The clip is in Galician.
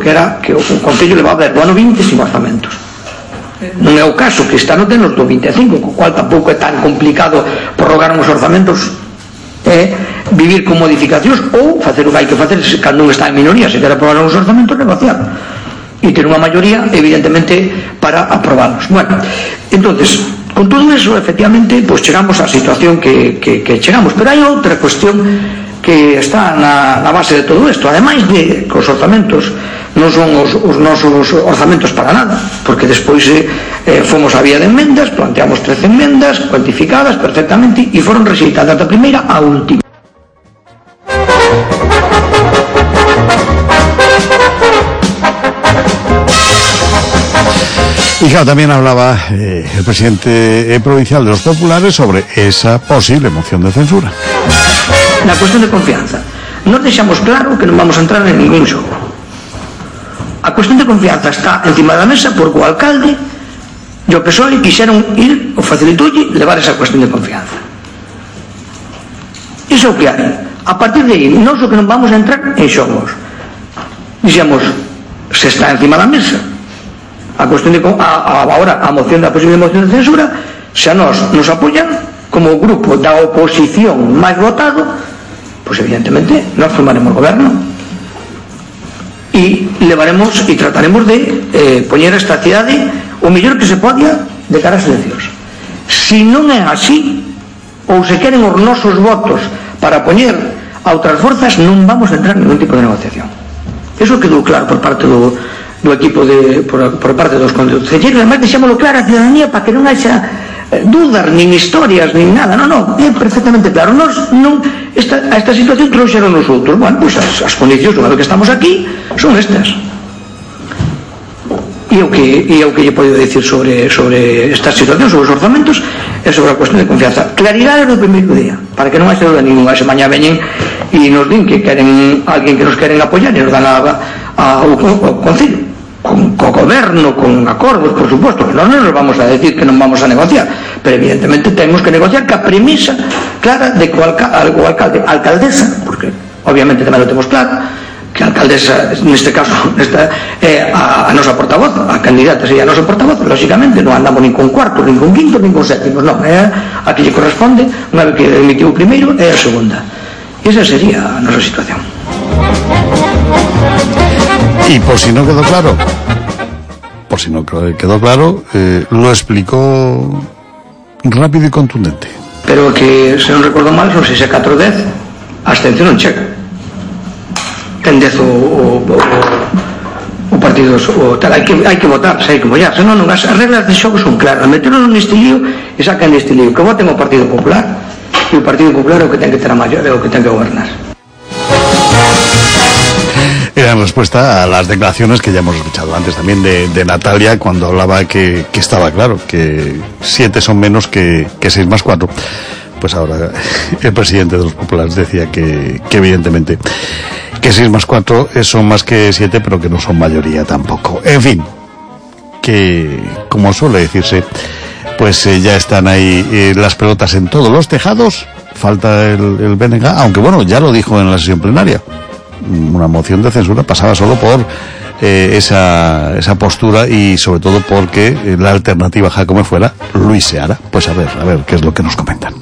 que era que o Concello levaba desde o ano 20 sin orzamentos. Non é o caso que este ano ten os do 25, co cual tampouco é tan complicado prorrogar uns orzamentos, vivir con modificacións ou facer o que hai que facer cando non está en minoría, se quer aprobar uns orzamentos, negociar e ter unha maioría evidentemente para aprobarlos. Bueno, entonces con todo eso efectivamente pues chegamos á situación que chegamos, pero hai outra cuestión que está na base de todo isto, ademais de que os orzamentos non son os nosos orzamentos para nada, porque despois fomos a vía de enmendas, planteamos 13 enmendas cuantificadas perfectamente e foron rexeitadas da primeira á última. Y claro, también hablaba el presidente provincial de los populares sobre esa posible moción de censura. Na cuestión de confianza, nos deixamos claro que non vamos a entrar en ningún xogo. A cuestión de confianza está encima da mesa porque o alcalde e o PSOE quixeron ir, o facilitoulle, levar esa cuestión de confianza. Iso é o que hai. A partir de aí, non só que non vamos a entrar en xogos. Dixemos, se está encima da mesa a cuestión de ahora a moción da posible moción de censura, se a nós nos apoyan como o grupo da oposición máis votado, pois evidentemente nós formaremos goberno e levaremos e trataremos de poñer esta cidade o mellor que se podia de cara ás eleccións. Se non é así, ou se queren os nosos votos para poñer a outras forzas, non vamos a entrar en ningún tipo de negociación. Eso quedou claro por parte do equipo por parte dos concelleiros. Además deixámoslo claro a ciudadanía para que non haxa dudas, nin historias, nin nada. Non, é perfectamente claro. Nos non a esta situación trouxeron os outros. Bueno, pois as condicións unha vez que estamos aquí son estas. E o que lle podo dicir sobre esta situación, sobre os orzamentos, é sobre a cuestión de confianza. Claridade do primeiro día, para que non haxa duda ninguna. Se mañá veñen e nos din que queren alguén que nos queren apoiar e nos dan ao Concello co goberno, con acordos, por suposto, que non nos vamos a decir que non vamos a negociar, pero evidentemente temos que negociar ca premisa clara de que o alcalde, alcaldesa, porque obviamente tamén lo temos claro, que a alcaldesa, neste caso, é a nosa portavoz, a candidata sería a nosa portavoz, lógicamente non andamos nin con cuartos, nin con quintos, nin con sétimos, non, é a que lle corresponde, unha vez que emitiu o primeiro, é a segunda. E esa sería a nosa situación. Y por si no quedó claro, lo explicó rápido y contundente. Pero que, se non recordo mal, son 6 a 4 10, a abstención non chega. Ten 10 o partido, hai que votar, hai que mollar, senón as reglas de xogo son claras, meteron neste lío e sacan neste lío, que voten o Partido Popular, e o Partido Popular é o que ten que ter a maioría, é o que ten que gobernar. Era en respuesta a las declaraciones que ya hemos escuchado antes también de Natalia, cuando hablaba que estaba claro que 7 son menos que 6 más 4. Pues ahora el presidente de los populares decía que evidentemente que 6 más 4 son más que 7, pero que no son mayoría tampoco. En fin, que como suele decirse, pues ya están ahí las pelotas en todos los tejados. Falta el BNG, aunque bueno, ya lo dijo en la sesión plenaria. Una moción de censura pasaba solo por esa postura y sobre todo porque la alternativa, como fuera Luis Seara. Pues a ver qué es lo que nos comentan.